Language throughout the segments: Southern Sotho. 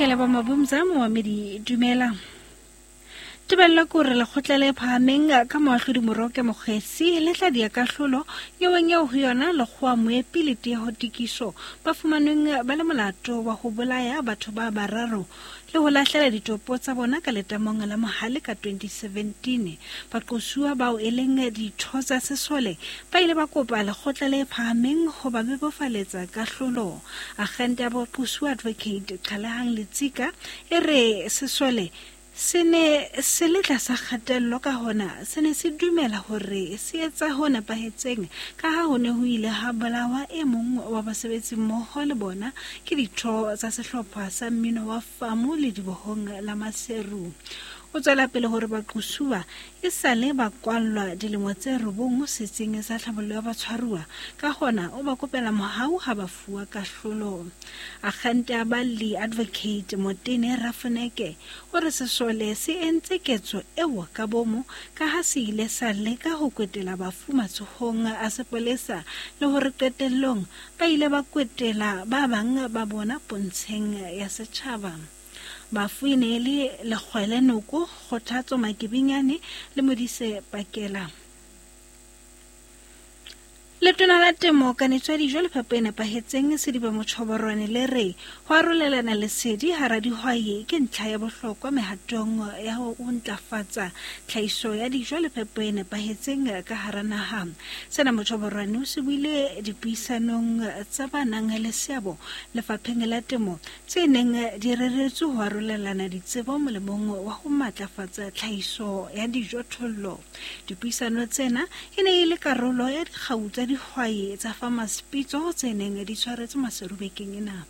Ke leboha Mabumza momamedi dumela. Tebello ke hore lekgotla le phahameng ka moahlodi Moroke Mokgesi le tla dia kahlolo nyeweng eo ho yona lekgowa Moepi le Tieho Tikiso ba fumanweng ba le molato wa ho bolaya batho ba bararo le ho lahlela ditopo tsa bona ka letamong la Mohale ka 2017. Baqosuwa bao e leng ditho tsa sesole ba ile ba kopa lekgotla le phahameng ho ba bebofaletsa kahlolo. Akgente ya boqosuwa Advocate Qhalehang Letsika e re sesole se ne se le tlasa kgatello ka hona se ne se dumela hore se etsa ho nepahetseng ka ha ho ne ho ile ha bolawa e mong wa basebetsimmoho le bona ke ditho tsa sehlopha sa mmino wa Famu ledibohong la Maseru. O tswela pele hore baqosuwa e sale ba kwallwa dilemo tse robong setsing sa tlhabollo ya batshwaruwa, ka hona o ba kopela mohau ha ba fuwa kahlolo. Akgente ya balli Advocate Motene Rafoneke o re sesole se entse ketso eo ka bomo ka ha se ile sa leka ho kwetela bafu matsohong a sepolesa le hore qetellong ba ile ba kwetela ba bang ba bona pontsheng ya setjhaba. Bafu e ne e le Lekgwele Noko, Kgothatso Makebinyane le Modise Pakela. Letona la Temo, Kanetso ya Dijo le Phepo e Nepahetseng, Sediba Mochoborwane le re ho arolelana lesedi hara dihwai ke ntlha ya bohlokwa mehatong ya ho ntlafatsa tlhahiso ya dijo le phepo e nepahetseng ka hara naha. Sena Mochoborwane o se buile dipuisanong tsa ba nang le seabo lefapheng la temo tse neng di reretswe ho arolelana ditsebo molemong wa ho matlafatsa tlhahiso ya dijothollo. Dipuisano tsena e ne e le karolo ya dikgau tsa dihwai tsa Farmers Pitso tse neng di tshwaretswe Maseru bekeng ena.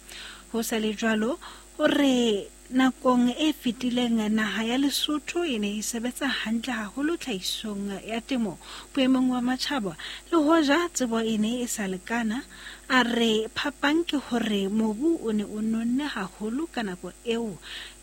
Ho sa le jwalo, o re nakong e fetileng naha ya Lesotho e ne e sebetsa hantle haholo tlhahisong ya temo boemong wa matjhaba le hoja tsebo e ne e sa lekana. A re phapang ke hore mobu o ne o nonne haholo ka nako eo.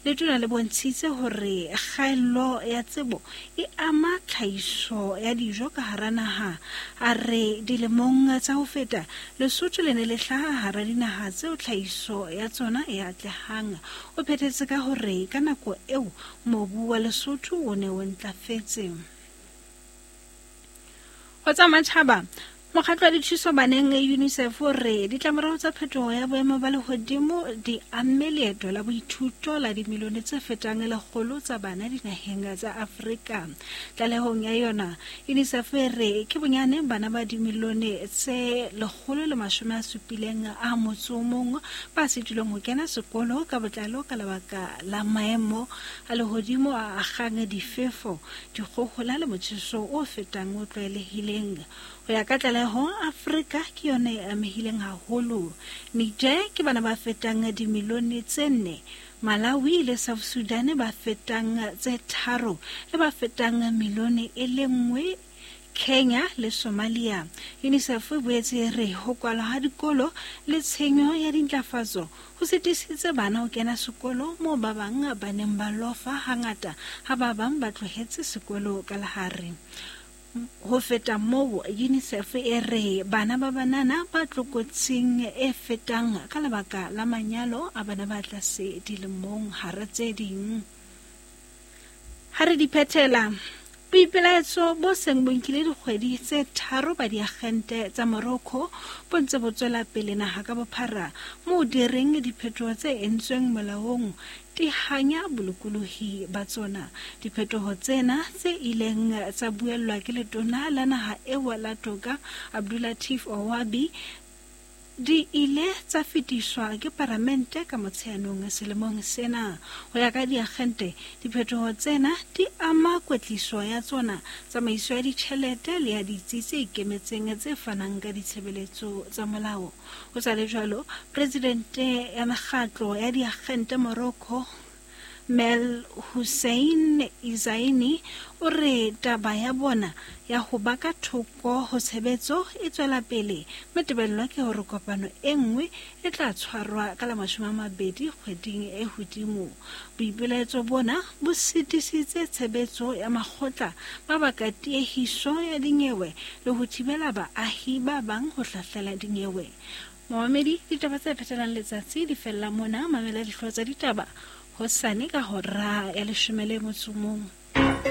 Letona le bontshitse hore kgaello ya tsebo e ama tlhahiso ya dijo ka hara naha. A re dilemong tsa ho feta, Lesotho le ne le hlaha hara dinaha tseo tlhahiso ya tsona e atlehang. O phethetse ka hore ka nako eo mobu wa Lesotho o ne o ntlafetse. Ho tsa matjhaba, Mokgatlo wa Dithuso Baneng UNICEF o re ditlamorao tsa phetoho ya boemo ba lehodimo di amme leeto la boithuto la dimilione tse fetang lekgolo tsa bana dinaheng tsa Afrika. Tlalehong ya yona, UNICEF e re ke bonyane bana ba dimilione tse 171 ba sitilweng ho kena sekolo ka botlalo ka lebaka la maemo a lehodimo a akgang difefo, dikgohola le motjheso o fetang o tlwaelehileng. Ho ya ka tlaleho, Afrika ke yona e amehileng haholo. Niger ke bana ba fetang dimilione tse nne, Malawi le South Sudan ba fetang tse tharo le ba fetang milione e le nngwe Kenya le Somalia. UNICEF e boetse e re ho kwalwa ha dikolo le tshenyo ya dintlafatso ho sitisitse bana ho kena sekolo moo ba bang ba neng ba lofa hangata ha ba bang ba tlohetse sekolo ka lehare. Ho feta moo, UNICEF e re bana ba banana ba tlokotsing e fetang ka lebaka la manyalo a bana ba tlase dilemong hara tse ding. Ha re di phethela, boipelaetso bo seng bo nkile dikgwedi tse tharo ba diagente tsa Morocco bo ntse bo tswela pele naha ka bophara moo di reng diphetoho tse entsweng molaong Tihanya bolokolohi ba tsona. Diphetoho tsena tse ileng tsa buellwa ke letona la naha eo la toka Abdullatif Ouabi di ile tsa fetiswa ke paramente ka Motsheanong selemong sena. Ho ya ka diakgente, diphetoho tsena di ama kwetliso ya tsona, tsamaiso ya ditjhelete le ya ditsi tse ikemetseng tse fanang ka ditshebeletso tsa molao. Ho sa le jwalo, presidente ya mekgatlo ya diakgente Morocco, Mel Hussein Izaini, o re taba ya bona ya ho ba ka thoko ho tshebetso e tswela pele mme tebello ke hore kopano e nngwe e tla tshwarwa ka la 20 kgweding e hodimo. Boipelaetso bona bo sitisitse tshebetso ya makgotla ba baka tiehiso ya dinyewe le ho thibela baahi ba bang ho hlahlela dinyewe. Momamedi, ditaba tse phethelang letsatsi di fella mona. Mamela dihlooho tsa ditaba hosane ka hora ya 11.